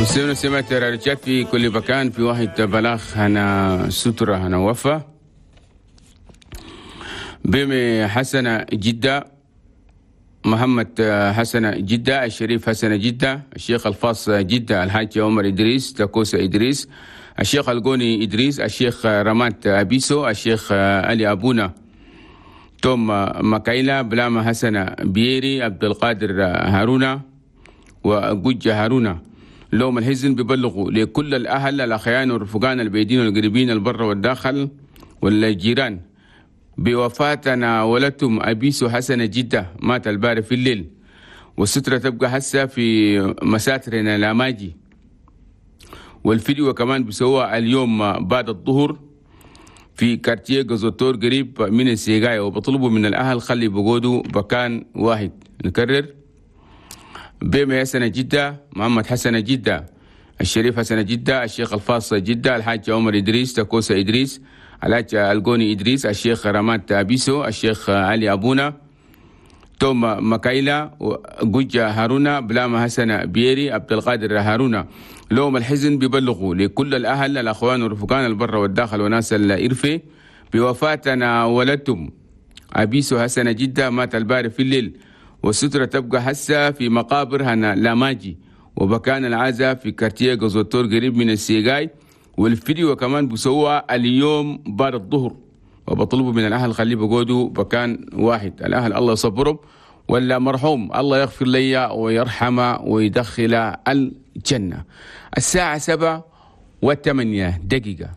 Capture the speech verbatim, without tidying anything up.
مستمعينا ومستمعات راديو تشاد في كل مكان، في واحد بلاغ هنا سترة هنا وفاة بيمي حسنة جدة، محمد حسن جدة، الشريف حسن جدة، الشيخ الفاص جدة، الحاج عمر إدريس تاكوسا إدريس، الشيخ القوني إدريس، الشيخ رمات أبيسو، الشيخ علي أبونا، توم مكايلا، بلاما حسن بيري، عبد القادر هارونا، وجوجة هارونا. لهم الحزن بيبلغوا لكل الأهل الأخيان والرفقان البعيدين والقريبين البر والداخل والجيران بوفاتنا ولدتم أبيسو حسن جدة، مات الباري في الليل، والسترة تبقى هسه في مساترنا لاماجي، والفيديو كمان بسوى اليوم بعد الظهر في quartier قزوتور قريب من السيقاية، وبطلبوا من الأهل خلي بقودوا بكان واحد. نكرر: بيمي حسن جدة، محمد حسن جدة، الشريف حسن جدة، الشيخ الفاص جدة، الحاج عمر إدريس تاكوسا إدريس، الحاج القوني إدريس، الشيخ رمات أبيسو، الشيخ علي أبونا، توم مكايلا، جوجا هارونا، بلاما حسن بيري، عبد القادر هارونا. لهم الحزن بيبلغوا لكل الأهل الأخوان والرفقان البر والداخل وناس الإرفي بوفاتنا ولدتم أبيسو حسن جدة، مات الباري في الليل، والسترة تبقى هسه في مقابر هنا لاماجي، وبكان العزاء في quartier قزوتور قريب من السيقاي، والفيديو كمان بسوى اليوم بعد الظهر، وبطلبوا من الأهل خليه بقودوا بكان واحد. الأهل الله يصبرهم، ولا مرحوم الله يغفر لي ويرحمه ويدخل الجنة. الساعة سبعة وثمانية دقيقة.